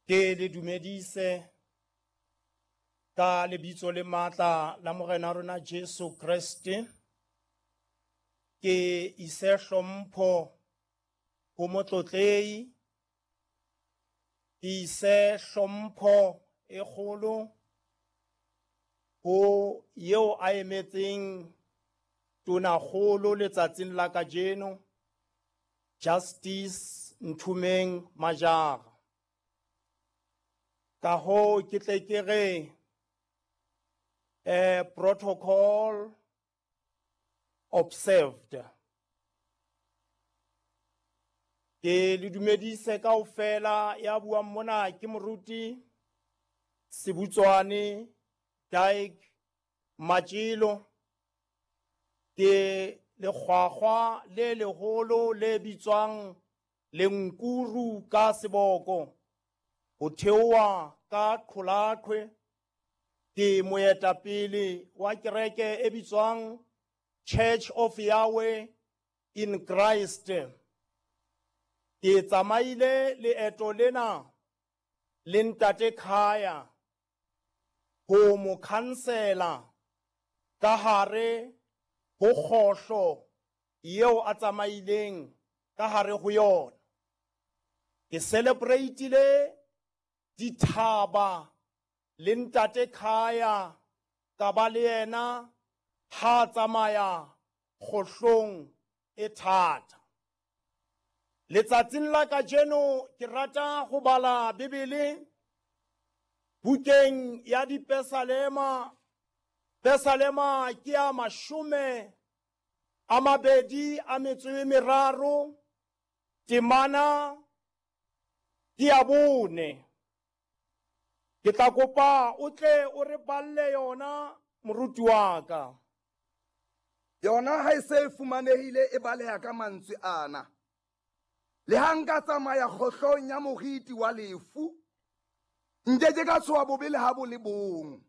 Ke le dumedise ka lebitso le matla la Morena rona Jesu Kreste. Ke ise hlompho ho motlotlehi, ke ise hlompho e kgolo ho eo a emetseng tonakgolo letsatsing la kajeno, Justice Nthumeng Majara. Ka hoo ke tle ke re protocol observed. Ke le dumedise kaofela ya buang mona ke moruti Sebutswane Dyke Matšilo. Ke lekgwakgwa le leholo le bitswang Lenkuru ka seboko, ho theoha ka Qholaqhwe. Ke moetapele wa kereke e bitswang Church of Yahweh in Christ. Ke tsamaile leeto lena le ntate Khaya ho mo khansela ka hare ho kgohlo yeo a tsamaileng ka hare ho yona. Ke celebrate-ile dithaba le ntate Khaya, ka ba le yena ha tsamaya kgohlong e thata. Letsatsing la kajeno ke rata go bala Bibele bukeng ya Dipesalema. Pesalema ke ya 23, temana ke ya 4. Ke tla kopa o tle o re balle yona moruti wa ka. Yona ha e se e fumanehile e baleha ka mantswe ana. Le ha nka tsamaya kgohlong ya moriti wa lefu, nke ke ka tshoha bobe le ha bo le bong,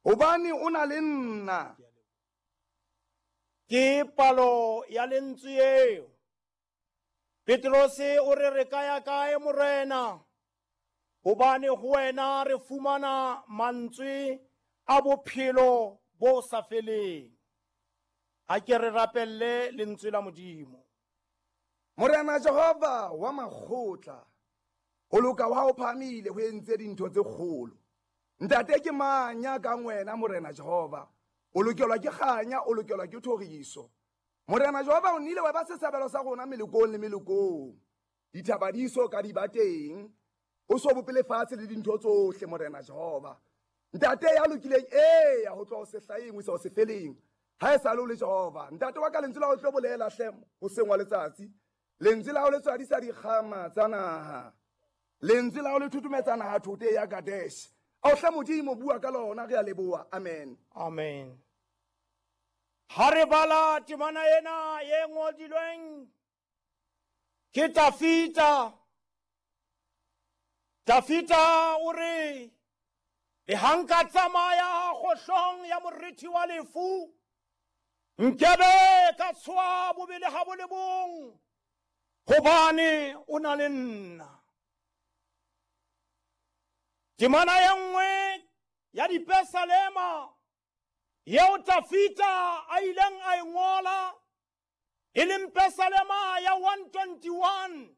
hobane o na le nna. Ke palo ya lentswe eo. Petrose o re re ka ya kae Morena? Hobane ho wena re fumana mantswe a bophelo bo sa feleng. Ha ke re rapelle lentswe la Modimo. Morena Jehova wa makgotla, ho loka wa hao phahamile, ho entse dintho tse kgolo. Ntate ke mang ya kang wena Morena Jehova? O lokelwa ke kganya, o lokelwa ke thoriso. Morena Jehova, o nnile wa ba setshabelo sa rona melokong le melokong. Dithaba di so ka di ba teng, o so bope lefatshe le dintho tsohle, Morena Jehova. Ntate ya lokileng, eya, ho tloha ho sehlaheng ho isa ho sefeleng, ha e sale o le Jehova. Ntate wa ka, lentswe la ho tlo bolela hle hoseng wa letsatsi. Lentswe la ho le tswadisa dikgama tsa naha. Lentswe la ho le thuthumetsa naha thote ya Kadesh. Ao hle Modimo, bua ka lona, re a leboha. Amen. Amen. Ha re bala temana ena e ngodilweng ke Dafita, Dafita o re, le ha nka tsamaya kgohlong ya moriti wa lefu, nkebe ka tshoha bobe le ha bo le bong, hobane o na le nna. Temana e nngwe ya Dipesalema yeo Dafita a ileng a e ngola, e leng Pesalema ya 121,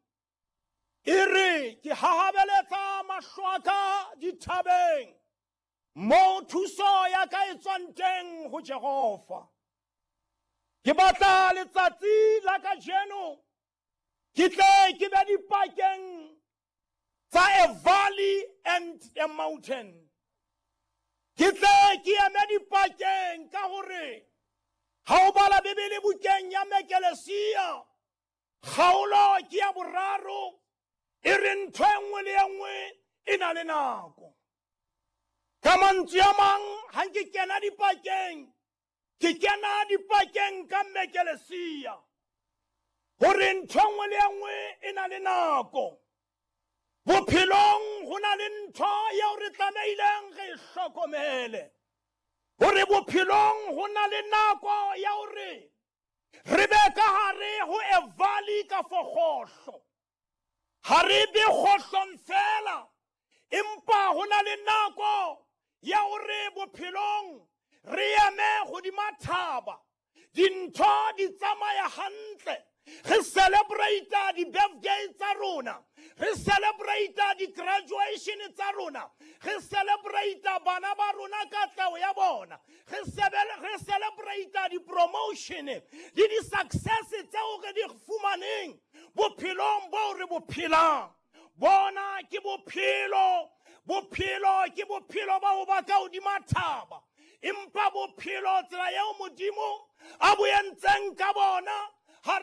e re, ke hahabeletsa mahlo a ka dithabeng, moo thuso ya ka e tswang teng ho Jehova. Ke batla letsatsi la kajeno ke tle ke be dipakeng tsa a valley and a mountain. Ke tle ke eme dipakeng ka hore ha o bala Bibele bukeng ya Mekelesia, kgaolo ke ya 3, e re ntho e nngwe le e nngwe e na le nako. Ka mantswe a mang, ha ke kena dipakeng, ke kena dipakeng ka Mekelesia, hore ntho e nngwe le e nngwe e na le nako. Bophelong ho na le ntho eo re tlamehileng re e hlokomele, hore bophelong ho na le nako ya hore re be ka hare ho a valley ka for kgohlo. Ha re be kgohlong fela, le nako ya hore bophelong re eme hodima thaba, dintho di tsamaya hantle, re celebrate di-birthday tsa rona, re celebrate di-graduation tsa rona, re celebrate bana ba rona katleho ya bona, re celebrate di-promotion le di-success tseo re di fumaneng bophelong boo re bo phelang. Bona ke bophelo, bophelo ke bophelo ba ho ba ka hodima thaba, empa bophelo tsela eo Modimo a bo entseng ka bona, ha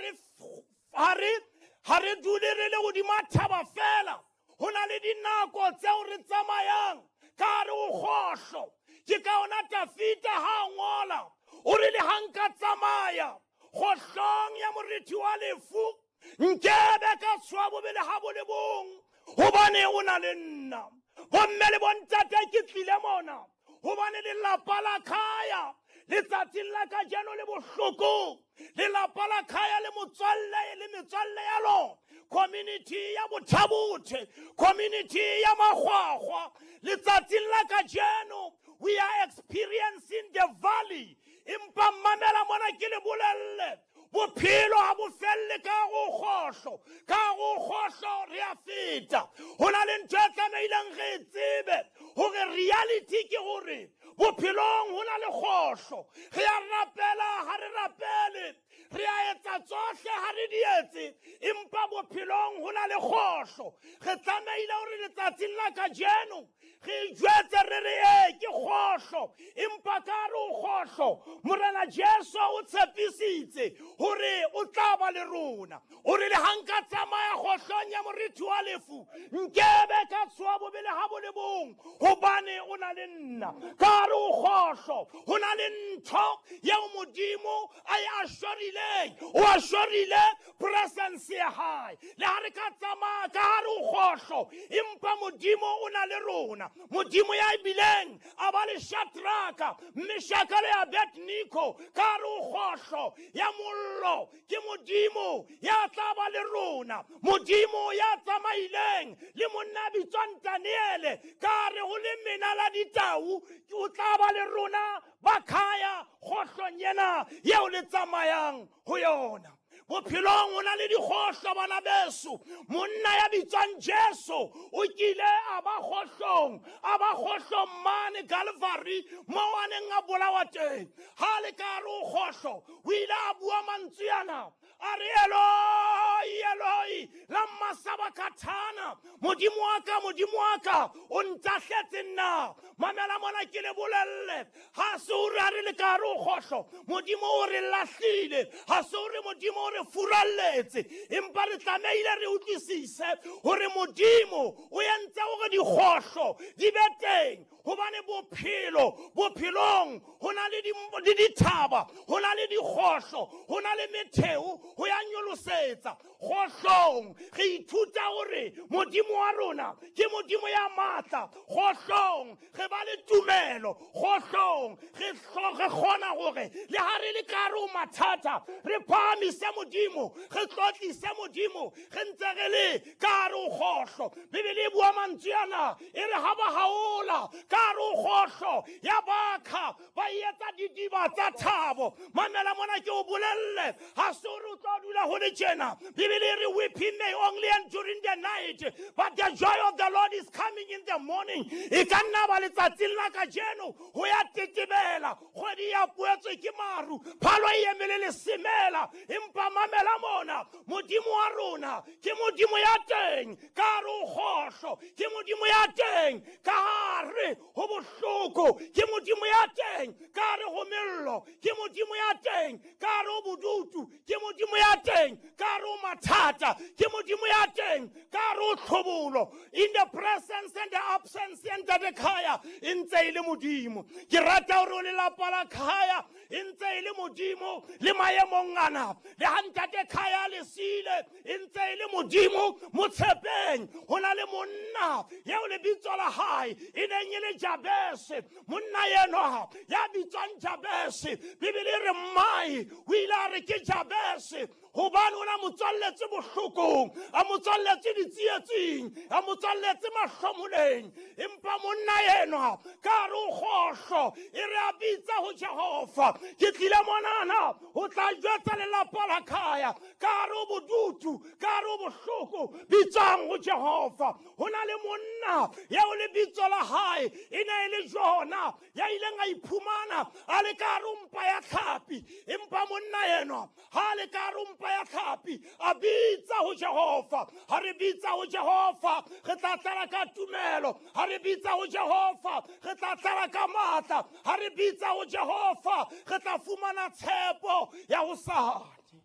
re dule re le hodima thaba fela. Ho na le dinako tseo re tsamayang ka hare ho kgohlo. Ke ka ona Tafita ha a ngola o re, le ha nka tsamaya kgohlong ya morithi wa lefu, nkebe ka tshoha bobele ha bo le bong, hobane o na le nna. Bomme le bontate, ke tlile mona hobane lelapa la Khaya letsatsing la kajeno le bohlokong. Lelapa la Khaya le motswalle le metswalle ya lona, community ya Botha-Bothe, community ya Makgwakgwa, letsatsing la kajeno we are experiencing the valley. Empa mamela mona ke le bolelle, bophelo ha bo felle ka go kgohlo, ka go kgohlo re a feta. Ho na le ntho e tlamehileng re e tsebe, hore reality ke hore bophelong ho na le kgohlo. Re a rapela, ha re rapele, re a etsa tsohle, ha re di etse, empa bophelong ho na le kgohlo. Re tlamehile hore letsatsing la kajeno re jwetse re re ee ke kgohlo, empa ka re o kgohlo, Morena Jesu o tshepisitse hore o tla ba le rona. O re, le ha nka tsamaya kgohlong ya morithi wa lefu, nkebe ka tshoha bobele ha bo le bong, hobane o na le nna. Ka re o kgohlo, ho na le ntho eo Modimo a e assurileng, o assurile presence ya hae. Le ha re ka tsamaya ka hare ho kgohlo, empa Modimo o na le rona. Modimo ya bileng a ba le Shadraka, Meshaka le Abednego ka hare ho kgohlo ya mollo, ke Modimo ya tla ba le rona. Modimo ya tsamaileng le monna a bitswang Daniele ka hare ho lemena la ditau, o tla ba le rona ba Khaya kgohlong ena eo le tsamayang ho yona. Bophelong ho na le dikgohlo, bana beso. Monna ya bitswang Jesu o kile a ba kgohlong, a ba kgohlong mane Calvary moo a neng a bolawa teng. Ha le ka hare ho kgohlo, o ile a bua mantswe ana, a re, Eloi, Eloi, lama sabakthana, Modimo wa ka, Modimo wa ka, o ntahletse nna. Mamela mona ke le bolelle, ha se hore ha re le ka hare ho kgohlo Modimo o re lahlile, ha se hore Modimo o re furalletse, empa re tlamehile re utlwisise hore Modimo o entse hore dikgohlo di be teng, hobane bophelo, bophelong ho na le dithaba, ho na le dikgohlo, ho na le metheo ho ya nyolosetsa. Kgohlong re ithuta hore Modimo wa rona ke Modimo ya matla. Kgohlong re ba le tumelo. Kgohlong re kgona hore le ha re le ka hare ho mathata, re phahamise Modimo, re tlotlise Modimo, re ntse re le ka hare ho kgohlo. Bibele e bua mantswe ana, e re ha ba haola ka hare ho kgohlo ya bakha, ba etsa didiba tsa thabo. Mamela mona ke o bolelle, ha se hore o tlo dula ho le tjena. Bibele e re, weeping may only endure in the night, but the joy of the Lord is coming in the morning. E ka nna ba letsatsing la kajeno ho ya tetebela, kgwedi ya poetswe ke maru, phalo e emele lesemela, empa mamela mona, Modimo wa rona ke Modimo ya teng ka hare ho kgohlo, ke Modimo ya teng ka hare ho bohloko, ke Modimo ya teng ka hare ho mello, ke Modimo ya teng ka hare ho bodutu, ke Modimo ya teng ka hare ho mathata, ke Modimo ya teng ka hare ho tlhobolo. In the presence and the absence, Ntate Khaya e ntse e le Modimo. Ke rata hore o lelapa la Khaya e ntse e le Modimo le maemong ana. Le ha Ntate Khaya le siile, e ntse e le Modimo. Motshepeng ho na le monna eo lebitso la hae e neng e le Jabese. Monna enwa ya bitswang Jabese, Bibele e re mmae o ile a re ke Jabese hobane o na motswalletse bohlokong, a motswalletse ditsietsing, a motswalletse mahlomoleng. teng. Empa monna enwa ka re o kgohlo, e re a bitsa ho Jehova. Ke tlile monana ho tla jwetsa lelapa la khaya, ka re o bodutu, ka re o bohloko, bitsang ho Jehova. Ho na le monna eo lebitso la hae e ne e le Jona, ya ileng a iphumana a le ka hare ho mpa ya tlhapi. Empa monna enwa ha a le ka hare ho mpa ya tlhapi a bitsa ho Jehova. Ha re bitsa ho Jehova re tla tlala ka tumelo, ha re bitsa ho Jehova re tla tlala ka matla, ha re bitsa ho Jehova re tla fumana tshepo ya hosane.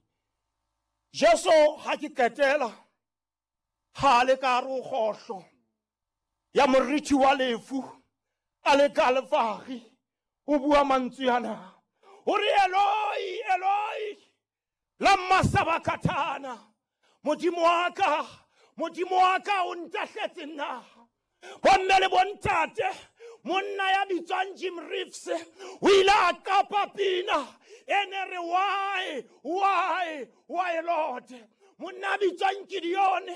Jesu ha ke qetela, ha a le ka hare ho kgohlo ya moriti wa lefu, a le ka Kalvari, o bua mantswe ana, o re Eloi, Eloi, lamma sabakatana, Modimo wa ka, Modimo wa ka, o ntahletse nna. Bomme le bontate, monna ya bitswang Jim Reeves o ile a qapa pina e ne re why, why Lord. Monna a bitswang Gideon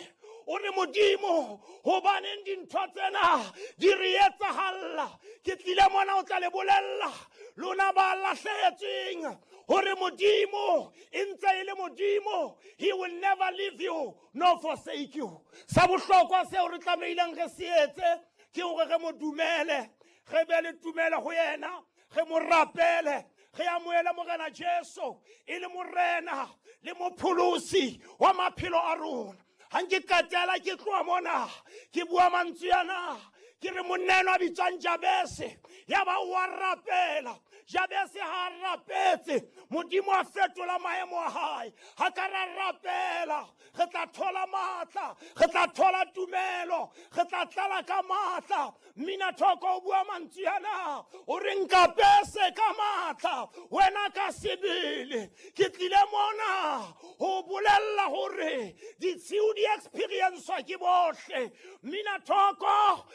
o re Modimo, hobaneng dintho tsena di re etsahalla? Ke tlile mona o tla le bolella lona ba lahlehetsweng hore Modimo e ntse e le Modimo. He will never leave you nor forsake you. Sa bohlokwa seo re tlamehileng re se etse ke hore re mo dumele, re be le tumelo ho yena, re mo rapele, re amohele Morena Jesu e le Morena le Mopholosi wa maphelo a rona. Ha nke qetela ke tloha mona ke bua mantswe ana, ke re monna enwa a bitswang Jabese, ya ba o a rapela. Jabese ha a rapetse, Modimo a fetola maemo a hae. Ha ka ra rapela, re tla thola matla, re tla thola tumelo, re tla tlala ka matla. Mmina thoko o bua mantswe ana, o re nkapese ka matla wena ka sebele. Ke tlile mona ho bolella hore ditshiu di experiencwa ke bohle. Mmina thoko.